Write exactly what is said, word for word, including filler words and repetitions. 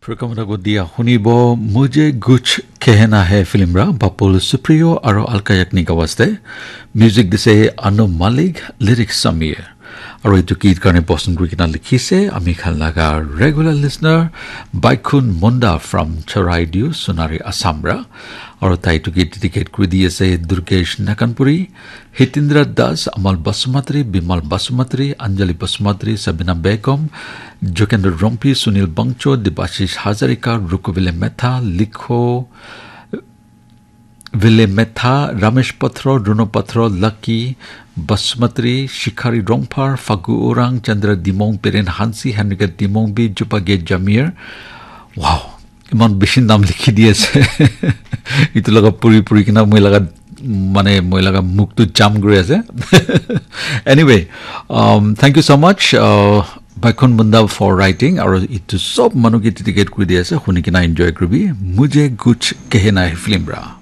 Program ko dia hunibo Mujhe Kuch Kehna Hai film ra Bapul Supriyo aro Alka Yagnik awaste. Music dise Anu Malik, lyrics Samir. Aro itu git karne poson kuri kena likhise ami khan laga regular listener Baikhun Munda from Charaideo, Sonari, Assam ra. Aro tai itu git dedicate kuri di ase Durgesh Nakanpuri, Hitindra Das, Amal Basumatri, Bimal Basumatri, Anjali Basumatri, Sabina Begum, Jokendra Rompi, Sunil Bangcho, Debashish Hazarika, Rukuvile Metha, Likho Vile Metha, Ramesh Patro, Runo Patro, Lucky Basumatri, Shikhari Rongphar, Fagu Orang, Chandra Dimong, Peren Hansi, Henrika Dimong bi, Jupage Jamir. Wow, iman bishi nam likhi di ase. Itu laga puri puri kena moi laga, mane moi laga muk tu jam kuri ase. Anyway, um, thank you so much, uh, Baikhun Munda, for writing. Aro itu sob manu ke dedicate kuri di ase. Huni kena enjoy kuribi. Mujhe Kuch Kehna Hai film ra.